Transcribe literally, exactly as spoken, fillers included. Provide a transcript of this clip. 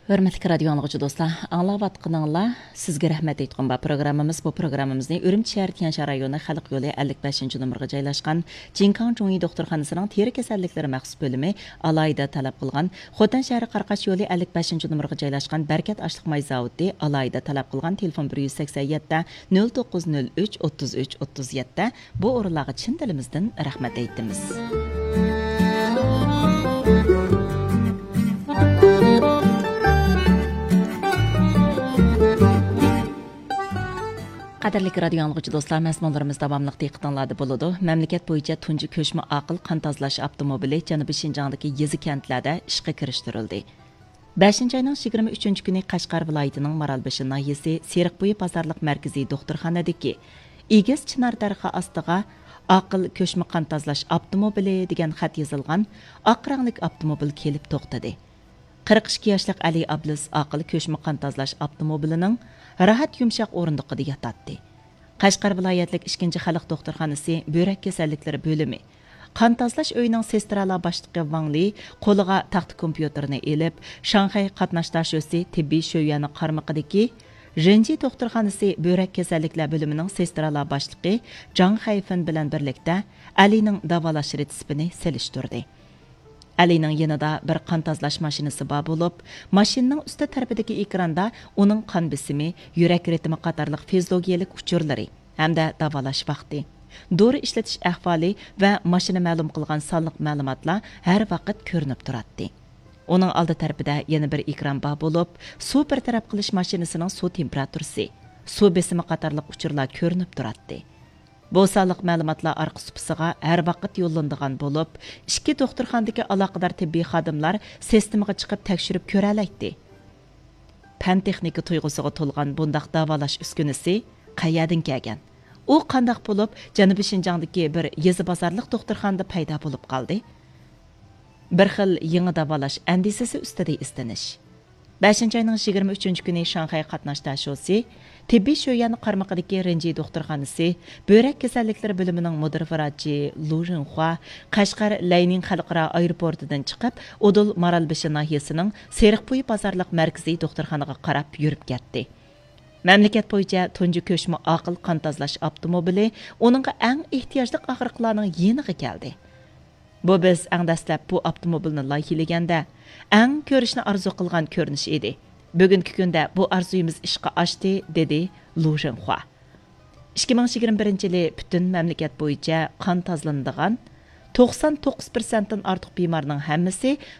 ھۆرمەتلىك رادىيو ئاڭلىغۇچى دوستلار، ئاڭلاۋاتقىنىڭلار سىزگە رەھمەت ئېيتقۇم بار پروگراممىمىز. بۇ پروگراممىمىزنى ئۈرۈمچى شەھىرى تيەنشان رايونى خەلق يولى ئەللىك بەشىنچى نومۇرغا جايلاشقان جىنكاڭ چۇڭيى دوختۇرخانىسىنىڭ تېرە كېسەللىكلىرى مەخسۇس بۆلۈمى ئالاھىدە تەلەپ قىلغان، خوتەن شەھىرى قاراقاش يولى ئەللىك بەشىنچى نومۇرغا جايلاشقان بەرىكەت ئاشلىق ماي زاۋۇتى ئالاھىدە تەلەپ قىلغان تېلېفون بىر يۈز سەكسەن يەتتە، نۆل توققۇز نۆل ئۈچ، ئوتتۇز ئۈچ، ئوتتۇز يەتتە، بۇ ئورۇنلارغا چىن دىلىمىزدىن رەھمەت ئېيتىمىز. قەدىرلىك رادىيو ئاڭلىغۇچى دوستلار، مەزمۇنلىرىمىز داۋاملىق دىققىتىڭلاردا بولىدۇ. مەملىكەت بويىچە تۇنجى كۆچمە ئاقىل قان تازىلاش ئاپتوموبىلى جەنۇبىي شىنجاڭدىكى يېزا كەنتلەردە ئىشقا كىرىشتۈرۈلدى. بەشىنچى ئاينىڭ يىگىرمە ئۈچىنچى كۈنى قەشقەر ۋىلايىتىنىڭ مارالبېشى ناھىيەسى سېرىقبويى بازارلىق مەركىزىي دوختۇرخانىدىكى ئېگىز چىنار دەرىخى ئاستىغا ئاقىل كۆچمە قان تازىلاش ئاپتوموبىلى دېگەن خەت يېزىلغان ئاق رەڭلىك ئاپتوموبىل كېلىپ توختىدى. قىرىق ئىككى ياشلىق ئەلى ئابلىز ئاقىل كۆچمە قان تازىلاش ئاپتوموبىلىنىڭ راھەت يۇمشاق ئورۇندۇقىدا ياتاتتى. قەشقەر ۋىلايەتلىك ئىككىنچى خەلق دوختۇرخانىسى بۆرەك كېسەللىكلىرى بۆلۈمى قان تازىلاش ئۆيىنىڭ سېسترالار باشلىقى ۋاڭ لى قولىغا تاختا كومپيۇتېرنى ئېلىپ، شاڭخەي قاتناش داشۆسى تېببىي شۆيۈەنى قارمىقىدىكى ژېنجى دوختۇرخانىسى بۆرەك كېسەللىكلەر بۆلۈمىنىڭ سېسترالار باشلىقى جاڭ خەيفېن بىلەن بىرلىكتە ئەلىنىڭ داۋالاش رېتسېپىنى سېلىشتۇردى. ئەلىنىڭ يېنىدا بىر قان تازىلاش ماشىنىسى بار بولۇپ، ماشىنىنىڭ ئۈستى تەرىپىدىكى ئېكراندا ئۇنىڭ قان بېسىمى، يۈرەك رىتىمى قاتارلىق فىزىولوگىيەلىك ئۇچۇرلىرى ھەمدە داۋالاش ۋاقتى، دورا ئىشلىتىش ئەھۋالى ۋە ماشىنا مەلۇم قىلغان سانلىق مەلۇماتلار ھەر ۋاقىت كۆرۈنۈپ تۇراتتى. ئۇنىڭ ئالدى تەرىپىدە يەنە بىر ئېكران بار بولۇپ، سۇ بىر تەرەپ قىلىش ماشىنىسىنىڭ سۇ تېمپېراتۇرىسى، سۇ بېسىمى قاتارلىق ئۇچۇرلار كۆرۈنۈپ تۇراتتى. بۇ سانلىق مەلۇماتلار ئارقا سۇپىسىغا ھەر ۋاقىت يوللىنىدىغان بولۇپ، ئىككى دوختۇرخانىدىكى ئالاقىدار تېببىي خادىملار سىستېمىغا چىقىپ تەكشۈرۈپ كۆرەلەيتتى. پەن تېخنىكا تۇيغۇسىغا تولغان بۇنداق داۋالاش ئۈسكۈنىسى قەيەردىن كەلگەن؟ ئۇ قانداق بولۇپ جەنۇبىي شىنجاڭدىكى بىر يېزا بازارلىق دوختۇرخانىدا پەيدا بولۇپ قالدى؟ بىر خىل يېڭى داۋالاش ئەندىزىسى ئۈستىدە ئىزدىنىش. بەشىنچى ئاينىڭ يىگىرمە ئۈچىنچى كۈنى شاڭخەي قاتناش داشۆسى تېببىي شۆيۈەن قارمىقىدىكى رېنجى دوختۇرخانىسى بۆرەك كېسەللىكلىرى بۆلۈمىنىڭ مۇدىر ۋراچى لۇ رېنخۇا قەشقەر لەينىڭ خەلقئارا ئايروپورتىدىن چىقىپ، ئۇدۇل مارالبېشى ناھىيەسىنىڭ سېرىقبويى بازارلىق مەركىزىي دوختۇرخانىغا قاراپ يۈرۈپ كەتتى. مەملىكەت بويىچە تۇنجى كۆچمە ئاقىل قان تازىلاش ئاپتوموبىلى ئۇنىڭغا ئەڭ ئېھتىياجلىق ئاغرىقلارنىڭ يېنىغا كەلدى. بۇ بىز ئەڭ دەسلەپ بۇ ئاپتوموبىلنى لايىھىلىگەندە، ئەڭ كۆرۈشنى ئارزۇ قىلغان كۆرۈنۈش ئىدى. بۈگۈنكى كۈندە بۇ ئارزۇيىمىز ئىشقا ئاشتى، دېدى لۇ رېنخۇا. ئىككى مىڭ يىگىرمە بىرىنچى يىلى پۈتۈن مەملىكەت بويىچە قان تازىلىنىدىغان توقسان توققۇز پىرسەنتتىن ئارتۇق بىمارنىڭ ھەممىسى